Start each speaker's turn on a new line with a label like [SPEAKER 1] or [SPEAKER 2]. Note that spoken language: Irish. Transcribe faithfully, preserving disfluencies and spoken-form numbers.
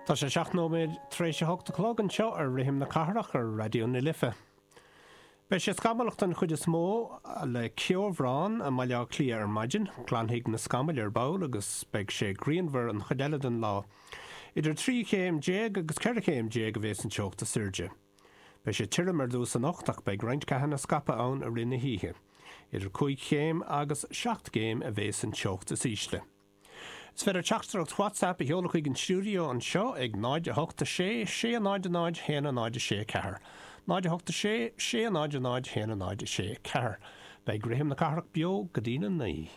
[SPEAKER 1] Tá sé seacht nóiméad tar éis a hocht a chlog anseo ar Rithim na Cathrach ar Raidió na Life. Beidh sé scamallach den chuid is mó le ceobhrán i mBaile Átha Cliath ar maidin, glanfaidh na scamaill ar ball agus beidh sé grianmhar an chuid eile den lá. Idir trí chéim déag agus ceithre chéim déag a bheas an teocht is airde. Beidh sé tirim ar dtús anocht ach beidh roinnt ceathanna scaipthe ann i rith na hoíche. Idir cúig chéim agus seacht gcéim a bheas an teocht is ísle. Is féidir teachtaireacht WhatsApp a sheoladh chuig an stiúideo anseo ag náid a hocht a sé sé náid náid haon náid sé ceathair. náid a hocht sé sé náid náid haon náid sé ceathair. Beidh Rithim na Cathrach beo go dtí a naoi.